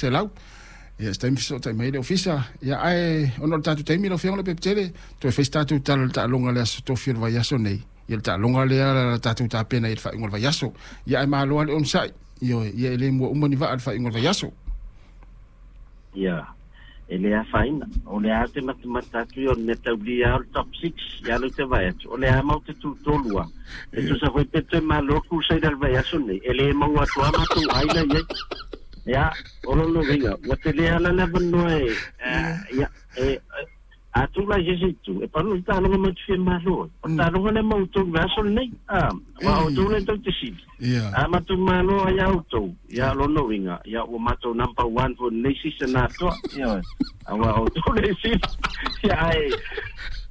500. Ia, se taimi fesootai mai ai le Ofisa. Ia, ae ona o le tatou taimi lau Afioga Leaupepe-tele, toe fai se tatou tala i le taaloga i le Aso Tofi o le vaiaso nei. Ia, le taaloga lea la tatou tapena i le faaiuga o le vaiaso. Ia, ae malo lava le onosai. Ioe, ia e le mua uma ni vaa i le faaiuga o le vaiaso. Ia, e le afaina. O lea te matamata atu ia o le mea taulia o le top 6 ia lea ou te vaai atu, o lea matou te tutolu lava. E tusa foi pe toe malo le Crusader i le vaiaso lenei, e le maua atu lava matou ai la i ai. Ia, o lona uiga, ua tele lava la le avanoa e, ia, e, a tulai i se isi itu, e pau le taaloga matou te fia malo ai. O le taaloga lea ma outou i le vaiaso lenei, a, aua o outou lea tou te sili. A matou malo ai ia outou, ia o lona uiga, ia ua matou number one foi i lenei season atoa, ioe, aua o outou lea e sili. Ia ae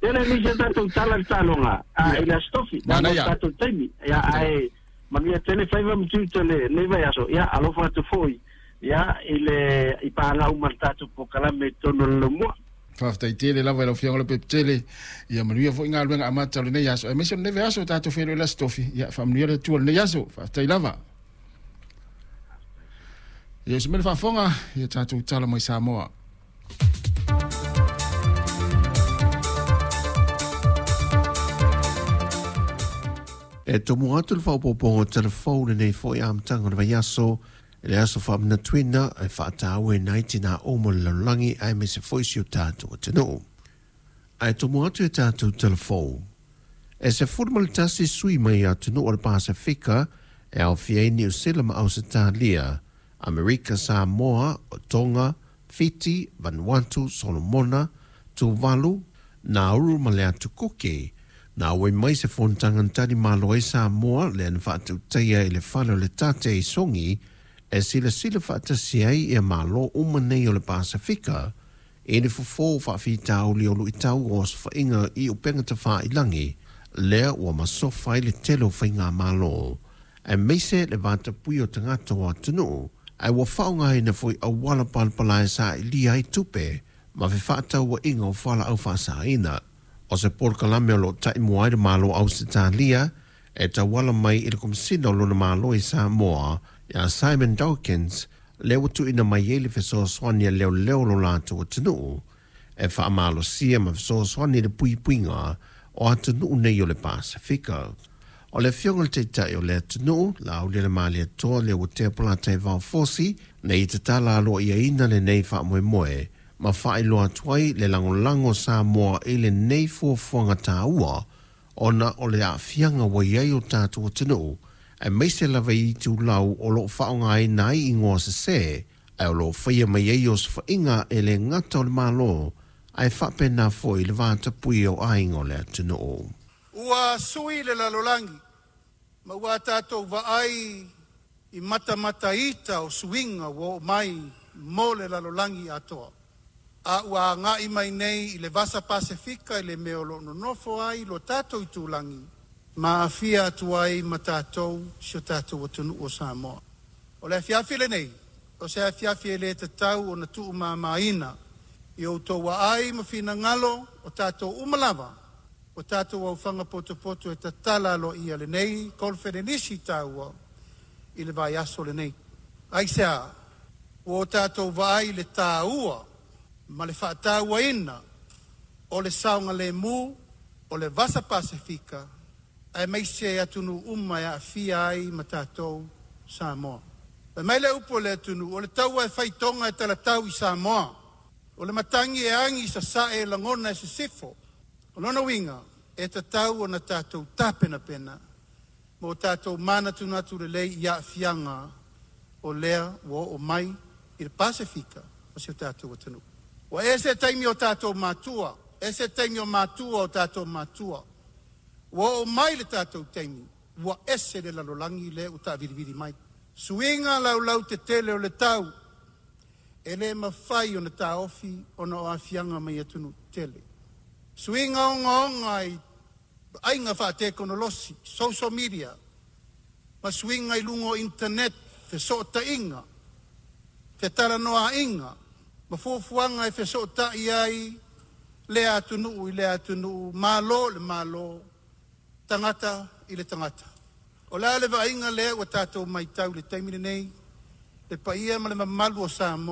tele nisi o tatou tala i le taaloga, a i le Aso Tofi, leaga o le tatou taimi. Ia ae manuia tele faiva ma tiute o lenei vaiaso, ia alofa atu foi ia i le i paaga uma i le tatou polokalame i totonu o le Laumua. Faafetai tele lava i lau Afioga Leaupepe-tele. Ia manuia foi galuega amata o lenei aso, aemaise o lenei vaiaso o tatou feiloai i le Aso Tofi. Ia faamanuia le Atua i lenei aso. Faafetai lava. Ia usu mai le faafofoga, ia tatou tala mai Samoa. E tomo atu le faaopoopoga o telefou lenei foi amataga o le vaiaso i le aso faamanatuina e faatauaina ai tinā uma o le lalolagi aemaise foi si o tatou atunuu. Ae tomo atu e tatou telefou. E 11 sui mai atunuu o le Pasefika e aofia ai Niu Sila ma Ausetalia, Amerika Samoa, Tonga, Fiti, Vanuatu, Solomona, Tuvalu, Nauru ma le Atu Kuki. Na auai mai se fonotaga na tali malo ai Samoa lea na faatautaia i le fale o le Tate i Sogi e silasila faatasi ai ia Malo uma nei o le Pasefika i le fofo faafitauli o luitau o osofaiga i upega tafailangi lea ua masofa ai le tele o faigamalo aemaise le vatapuia o tagata o atunuu ae ua faaaogaina foi auala palapala e sailia ai tupe ma fefaatauaiga o fualaau faasaina. O se polokalame o lo o taimua ai le Malo o Ausetalia e tauala mai i le Komesina o lona Malo i Samoa, ia Simon Dawkins, lea ua tuuina mai ai le fesoasoani a leoleo o lo latou atunuu e faamalosia ma fesoasoani i le puipuiga o atunuu nei o le Pasefika. O le Afioga i le Taitai o le atunuu, Laaulialemalietoa Leuatea Polataivao Fosi, nei tatala aloaiaina lenei faamoemoe ma faailoa atu ai le lagolago o Samoa i lenei fuafuaga taua ona o le aafiaga ua i ai o tatou atunuu, aemaise lava i itulau o lo o faaaogaina ai igoa sese, ae o lo o faia mai ai osofaiga e le gata o le Malo, ae faapena foi le vatapuia o aiga o le atunuu. Ua sui le lalolagi ma ua tatou vaai i matamata ita o suiga ua oo mai mo le lalolagi atoa. A ua agai mai nei i le Vasa Pasefika i le mea o lo o nonofo ai lo tatou itulagi ma aafia atu ai ma tatou si o tatou atunuu o Samoa. O le afiafi lenei, o se afiafi e le tatau ona tuumamaina i outou aai ma finagalo o tatou uma lava o tatou aufaga potopoto e tatala aloaia lenei koneferenisi taua i le vaiaso lenei. Aisea? Ua o tatou vaai i le taua ma le faatauaina o le saogalemu o le Vasa Pasefika aemaise atunuu uma e aafia ai ma tatou Samoa. Fai mai le upu a le atunuu, o le taua e faitoga e talatau i Samoa. O le matagi e agi i sasae e lagona e sisifo. O lona uiga, e tatau ona tatou tapenapena mo tatou manatunatu lelei i aafiaga o lea ua oo mai i le Pasefika o si o tatou atunuu. Ua ese taimi o tatou matua, ese taimi o matua o tatou matua. Ua oo mai le tatou taimi, ua ese le lalolagi lea ua taavilivili mai. Suiga laulautetele o le tau, e le mafai ona taofi ona o aafiaga mai atunuu tetele. Suiga ogaoga i vaaiga faatekonolosi, social media, ma suiga i luga o internet, fesootaiga, fetalanoaiga, ma fuafuaga e fesootai ai lea atunuu i lea atunuu, malo i le malo, tagata i le tagata. O le a le vaaiga lea ua tatou matau i le taimi lenei, le paia ma le mamalu o Samoa?